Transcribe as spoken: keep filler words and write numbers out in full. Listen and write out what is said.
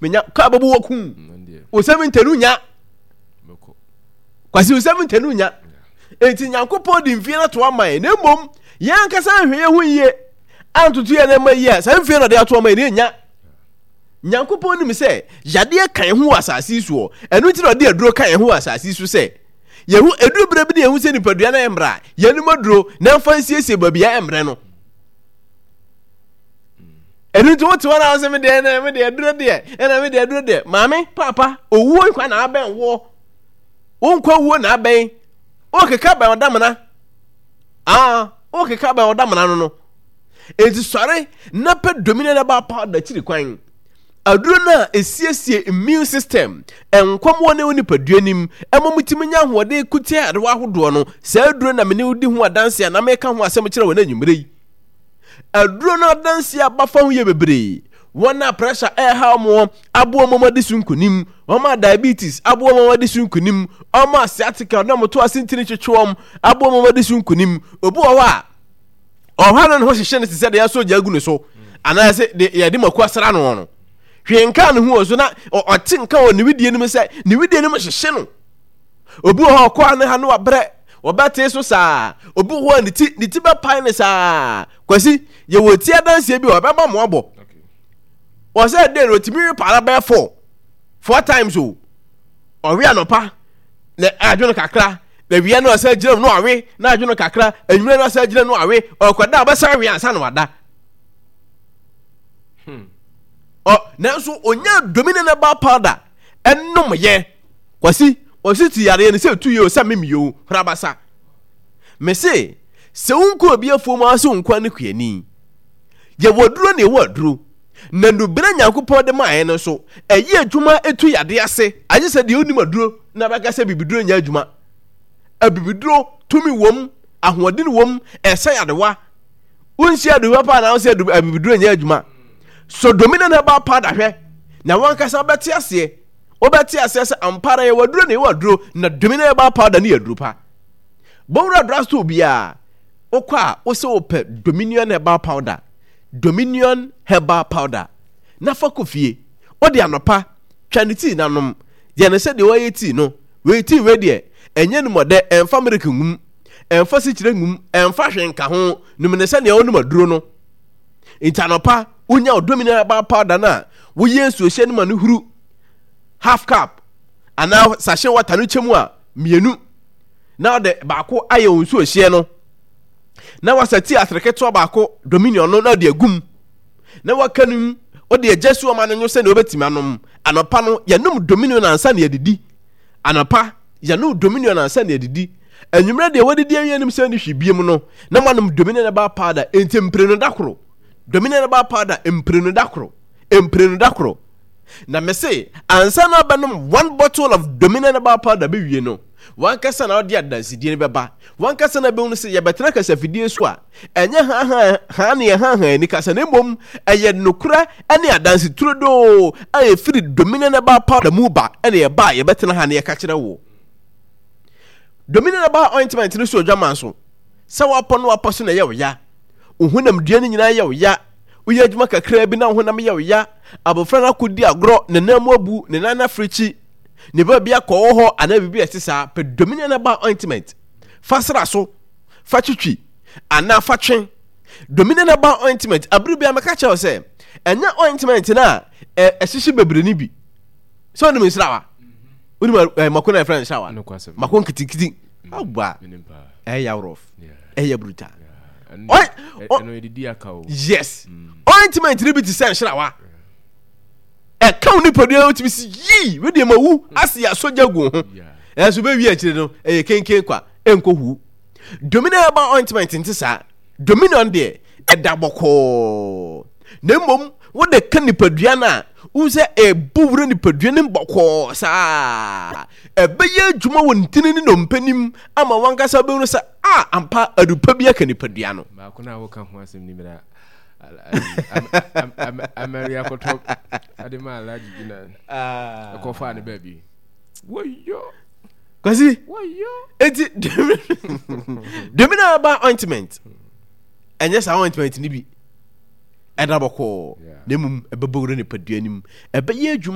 Menya kaa bɛbɔ waku wo seventy no nya. Kwasi, wo seventy no nya. Enti Nyankopɔn de mfie no ato ama yɛn, na mmom yɛn ankasa nhwɛ yɛn ho yie antoto yɛn nneɛma yie a, saa mfie no ɔde ato ama yɛn no yɛnya. Nyankopɔn nim sɛ yadeɛ ka yɛn ho wɔ asase yi soɔ, ɛno nti na ɔde aduro ka yɛn ho wɔ asase yi so sɛ yɛhu aduro berɛ bi ne yɛhu sɛ nipadua no ɛmmra a, yɛnom aduro na ɛmfa nsiesie baabi a ɛmmrɛ no. Ɛno nti wote hɔ na wosɛ me deɛ na me deɛ aduro deɛ ɛna me deɛ aduro deɛ. Maame, paapa, owuo nkwa na abɛn woɔ, wo nkwa wuo na abɛn, wokeka bɛn ɔdamena, aa wokeka bɛn ɔdamena no no Enti sɔre na pɛ Dominion Herbal Powder akyiri kwan. Aduro no a ɛsiesie immune system, nkwamoɔ ne wo nipadua nim, ɛma mutumi nya ahoɔden ko tia yarewa ahodoɔ no, saa aduro na me ne wo di ho adanse a na meka ho asɛm kyerɛ wɔ no anwummerɛ yi. Aduro no adanse a bafa ho yɛ bebree. Wɔn a pressure ɛreha wɔn aboa wɔn adi so nkonim, wɔn a diabetes aboa wɔn adi so nkonim, wɔn a sciatica na wɔn to ase ntini twetwe wɔn aboa wɔn adi so nkonim. Obi wɔ hɔ a ɔhɔ no ne ho hyehyɛ no te sɛ deɛ asɔ gya agu ne so anaasɛ deɛ yɛde mako asra no no. Hwee nka ne ho wɔ so na ɔte nka wɔ ne widie no mu sɛ ne widie no mu hyehye no. Obi wɔ hɔ ɔkɔ ne ha no wabrɛ, wɔbɛtee so saa. Obi wɔ hɔ a ne ti ne ti bɛpae ne saa. Kwasi, yɛwɔ ti adanseɛ bi a ɔbɛma mo abɔ. Ɔsɛ dɛ no otumi repaara bɛyɛ four four times o. Ɔwe anɔpa na adwo no kakra, na wia no ɔsɛ gyina mu na ɔwe na adwo no kakra, anwummerɛ no ɔsɛ gyina mu na ɔwe, ɔkɔda ɔbɛsan awe ansa na wada. Hmm. Ɔ nanso onya domine na ba powder ɛnom yɛ. Kwasi, ɔsi ti yareɛ no sɛ tu yɛ o sɛ mem yɛ o, horabasa. Mese, sɛ wonkɔ obi afuo mu ara sɛ wo nkoa ne kuani. Yɛwɔ aduro na yɛwɔ aduro. Na nnubena Nyankopɔn de maeɛ no nso, ɛyɛ adwuma ɛtu yadeɛ ase, agye sɛ deɛ ɔnim aduro na bɛka sɛ bibiduro nyɛ adwuma. Abibiduro tumi wom, ahoɔden wom, ɛsa yadewa. Wonhyia aduro papa na wosɛ abibiduro nyɛ adwuma. So Dominion Herbal Powder hwɛ, na wankasa bɛte aseɛ. Wobɛte aseɛ sɛ ampa ara yɛwɔ aduro na yɛwɔ aduro, na Dominion Herbal Powder no yɛ aduro pa. Bɔwura drugstore biara, wokɔ a wosɛ wopɛ Dominion Herbal Powder, Dominion Herbal Powder, na fa kɔ fie. Wode anɔpa, twa ne tii na nom. Yɛ no sɛdeɛ wɔyɛ tii no. Wei tii wei deɛ, ɛnyɛ numɔdɛ, ɛmfa milk ngum, ɛmfa sikyire ngum, ɛmfa hwee nka ho. Nom no sɛdeɛ wonom aduro no. Nti anɔpa, wonya wo Dominion Herbal Powder no a, woyɛ nsuohyɛ no ma no huru half cup anaa sachet water no kyɛ mu a mmienu na ɔde baako ayɛ wo nsuohyeɛ no na wasa tii atere ketewa baako Dominion no na ɔde agum na waka no mu, ɔde agya su ɔma no nwo sɛdeɛ wobɛtumi anom. Anɔpa no yɛnom Dominion ansa na yɛdidi. Anɔpa yɛnom Dominion ansa na yɛdidi. Anwummerɛ deɛ wadidi awie nim sɛ ne hwi biem no na moanom Dominion herbal powder. Enti mprenu da koro Dominion herbal powder, mprenu da koro, mprenu da koro. Na mese ansa na wobɛnom one bottle of Dominion herbal powder bɛwie no, wankasa na wode adansedie no bɛba. Wankasa na bɛhunu sɛ yɛbɛtena kasafidie so a, ɛnyɛ haahaa haa ne yɛhaahaa ani kasa, na mmom ɛyɛ nokorɛ ne adanse turodoo a ɛfiri Dominion herbal powder mu ba na yɛba a yɛbɛtena ha na yɛka kyerɛ wo. Dominion herbal ointment no so odwaman so sɛ woapɔ no wapɔ so na ɛyɛ wo ya, wo honam dua no nyinaa yɛ wo ya, woyɛ adwuma kakraa bi na wo honam yɛ wo ya, abɔfra no akɔdi agorɔ, ne nan mu abu, ne nan afirikyi, ne baabi akɔwɔ hɔ anaa biribi a ɛte saa, pɛ Dominion herbal ointment fa sra so, fa twitwi anaa fa twe. Dominion herbal ointment, abere biara mɛka kyerɛ wo sɛ ɛnyɛ ointment no a ɛhyehye bebree no bi. Sɛ wonim nsrawa, wonim eh, mako na yɛfrɛ no nsrawa, mako nketenkete awa, ɛyɛ rough, ɛyɛ brutal. Yes, ointment no bi te sɛ nsrawa. Ɛka wo nipadua no wotumi si yii wedeɛ ma wu ase yɛ asɔgya gu ho, ɛnso bɛwie akyire no ɛyɛ kenken kwa, ɛnkɔ hu. Dominion herbal ointment nte saa. Dominion deɛ ɛda bɔkɔɔ, na mmom wode ka nipadua no a, wohu sɛ ɛbɔ wura nipadua no mu bɔkɔɔ saa. Ɛbɛyɛ adwuma wɔ ntini ne nnompe nim ama wankasa bɛhunu sɛ a ampa adupa bi aka nipadua no. Baako no a woka ho asɛm ni mmerɛ amari akɔtɔ ade ma Alhaji bi na ɛkɔfaa ne baabi. Wɔyɔ. Kwasi. Wɔyɔ. Eti Domina herbal ointment ɛnyɛ saa ointment ni bi. Ɛda bɔkɔɔ, Yeah. na mmom ɛbɛbɔ wura nipadua nim, ɛbɛyɛ adwuma.